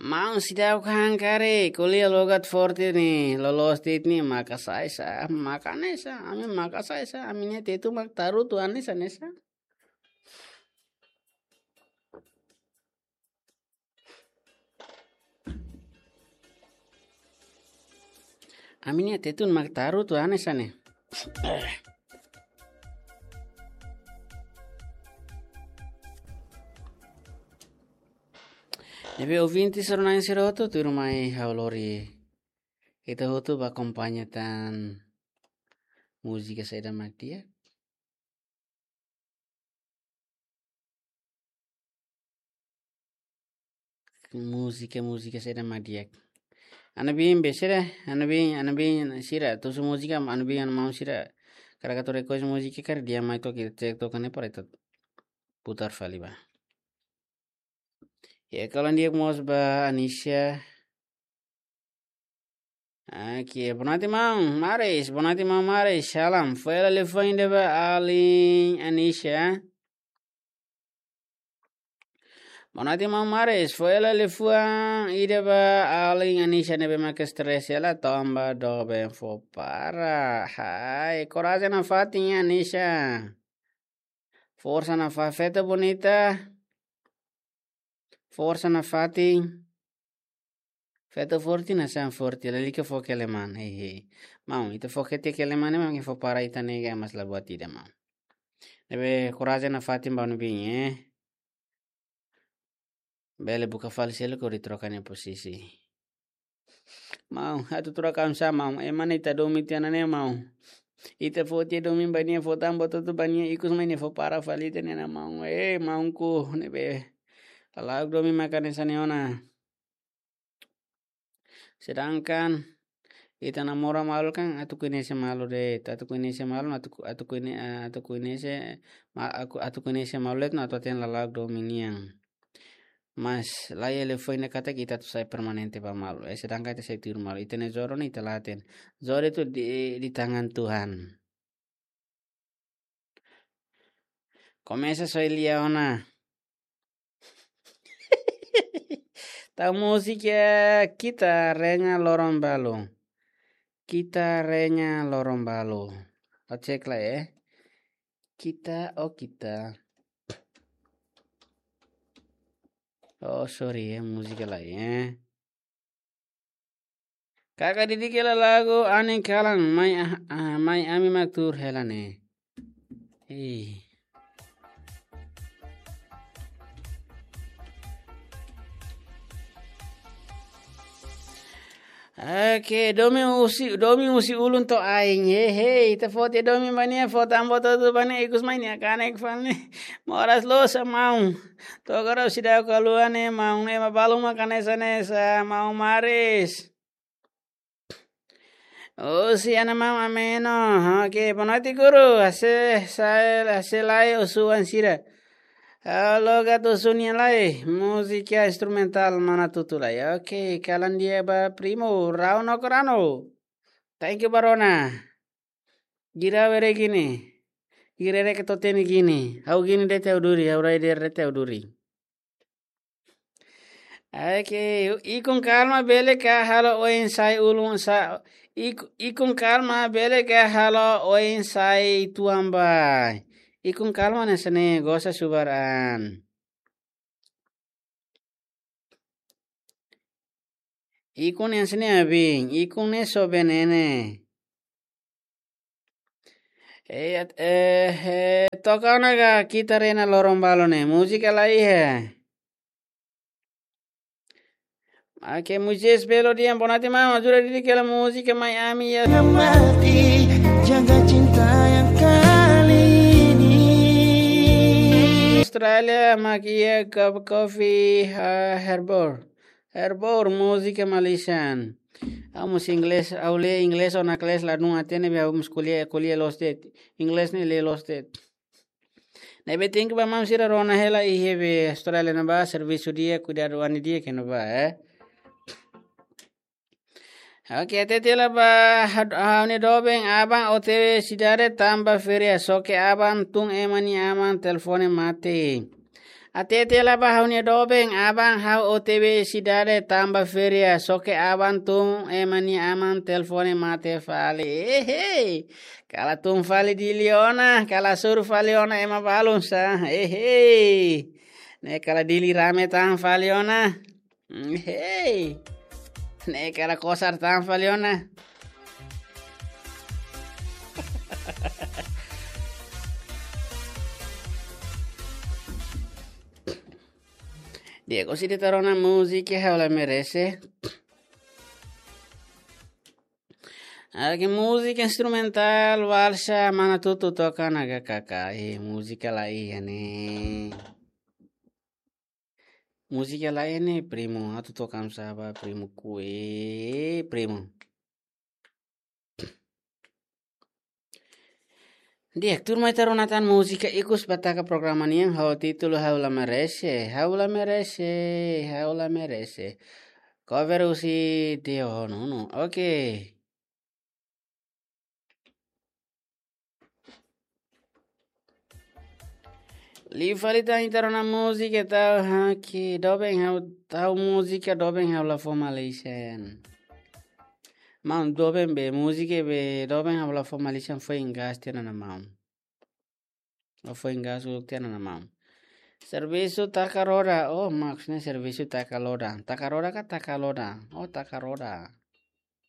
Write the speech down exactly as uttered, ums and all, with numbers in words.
Maun seidauk han karik, ko'alia logat forte ne'e, loloos de'it ne'e, maka sai sa, maka hanesan, ami maka sai sa, ami-nia tetun mak tarutu hanesan, hanesan. Ami-nia tetun mak tarutu hanesan ne'e. Ne'ebé ouvinte sira-na'in sira hotu, tuirmai ha'u lori ita hotu bá akompaña tan múzika saida mak di'ak. Múzika, múzika saida mak di'ak. Ha'u-nia biin be sira, ha'u-nia biin, ha'u-nia biin sira, tusu múzika, ha'u-nia biin, ha'u-nia maun sira. Karik atu request múzika karik dehan mai to'ok, ita cek to'ok ne'e para ita putar fali bá. Ya, kalan di'ak mós ba Anisha. Oke, boa noite, maun Maris. Boa noite, maun Maris. Salam. Foin hela liafuan ida ba alin Anisha. Boa noite, maun Maris. Foin hela liafuan ida ba alin Anisha ne'ebé mak stress hela tanba doben fó para. Hai, korajen nafatin, Anisha. Forsa nafatin, feto bonita. Forsa nafatin. Feto forte, nasaun forte, lalika fó keleman, hehe. Maun, ita fó kete keleman ne'e mak fó para ita nega mas la buat ida, maun. Ne'ebé korajen nafatin ba ha'u-nia biin, eh. Bele buka fali seluk hodi troka nia posisi. Maun, atu troka oinsá, maun? Ema ne'e ita domin tiha ona ne'e, maun. Ita fó tiha domin ba nia, fó tan boot hotu ba nia, ikus mai nia fó para fali ita-nia an, maun. Eh, maunku, ne'ebé lala'ok domin maka hanesan ne'e ona. Sedangkan ita namora malu kan atu koñese malu de'it, atu koñese malu, atu, atu koñe-, atu koñese ma-, aku, atu koñese malu de'it no atu hatene lala'ok domin nian. Mas la iha liafuan ida katak ita atu sai permanente ba malu. Eh, sedangkan ita sai tuir malu. Ita-nia jodoh ne'e ita la hatene. Jodoh itu di, di tangan Tuhan. Komesa soe lia ona. Tau múzika Kita Reña Loron Balu. Kita Reña Loron Balu. Ó cek lai, eh. Kita, oh kita. Oh, sorry, eh, múzika lai, eh. Kaka didik hela lagu Anin Kalan, mai, ah, ah, mai ami mak tuur hela ne'e. Ih. Oke, domin husi, domin husi ulun to'o ain. He, he, ita fó tiha domin ba nia, fó tan boot hotu ba nia, ikus mai nia kanek fali. Moras loos, maun. To'o agora seidauk haluha ne'e, maun, ne'e mak balun mak hanesan ne'e sa, maun Maris. Oh, si ana maun ameno. Oke, boa noite, guru. Ha'u sei, sei, ha'u sei lai husu an sira. Halo gato sunia lai. Múzika instrumentál mana tutu lai. Oke, kalan di'ak ba primo. Rau no korano. Thank you, barona. Gira were gini. Gira reke to'o teni gini. Ha'u gini de'it ha'u duri. Ha'u rai de'it ha'u duri. Oke, ikun kalma bele ka halo oin sai ulun sa-, ik-, ikun kalma bele ka halo oin sai tuan ba. Ikun kalma ne'e hanesan ne'e gosa subar an. Ikun ne'e hanesan ne'e abin, ikun ne'e so benene. Eh, eh, eh, toka ona ka Kita Reña Loron Balu ne'e, múzika la iha. Oke, Moisés Belo dehan boa noite, maun, ajuda didik hela múzika mai ami ya. Mati, jaga cinta yang kali ini. Austrália, mak iha cup coffee, ha, Herbor. Herbor, múzika Malaysian. Ha'u mós inglés, ha'u lee inglés ona kelas la dún hatene be ha'u mós ko'alia, ko'alia loos de'it. Inglés ne'e lee loos de'it. Ne'ebé tenke ba maun sira rona hela iha be Austrália ne'ebá servisu di'ak, kuidadu an di'ak iha ne'ebá, eh. Oke, hatete hela ba ha-, ha'u-nia doben aban O T W sidade tanba feria, só ke aban tun ema nia aman telefone mate. Hatete hela ba ha'u-nia doben, aban ha'u O T B sidade tanba feria, só ke aban tun ema nia aman telefone mate fali. Ehei! Kala tun fali Dili ona, kala hasoru fali ona ema balun sá. Ehei! Ne'e kala Dili rame tan fali ona. Ehei! Ne'e kala kosar tan fali ona. Di'ak, orsida ita rona múzika Ha'u La Merese. Oke, múzika instrumentál, valsa, mana Tutu toka ona H K K. Eh, múzika la iha ne'e. Múzika la iha ne'e, primu. Atu toka sá ba, primu Kui, primu. Di'ak, tuirmai ita rona tan múzika ikus ba taka programa nian ho títulu Ha'u La Merese, Ha'u La Merese, Ha'u La Merese. Cover husi Tio Honunu. Oke. Liu fali tan ita rona múzika tau haki, doben ha'u, tau múzika doben ha'u la fó Malaysia. Maun, doben be, múzika be, doben ha'u la fó Malaysia, foin gas tiha ona maun. Foin gas uluk tiha ona maun. Servisu taka roda, oh, maksudnya servisu taka loda. Taka roda ka taka loda? Oh, taka roda.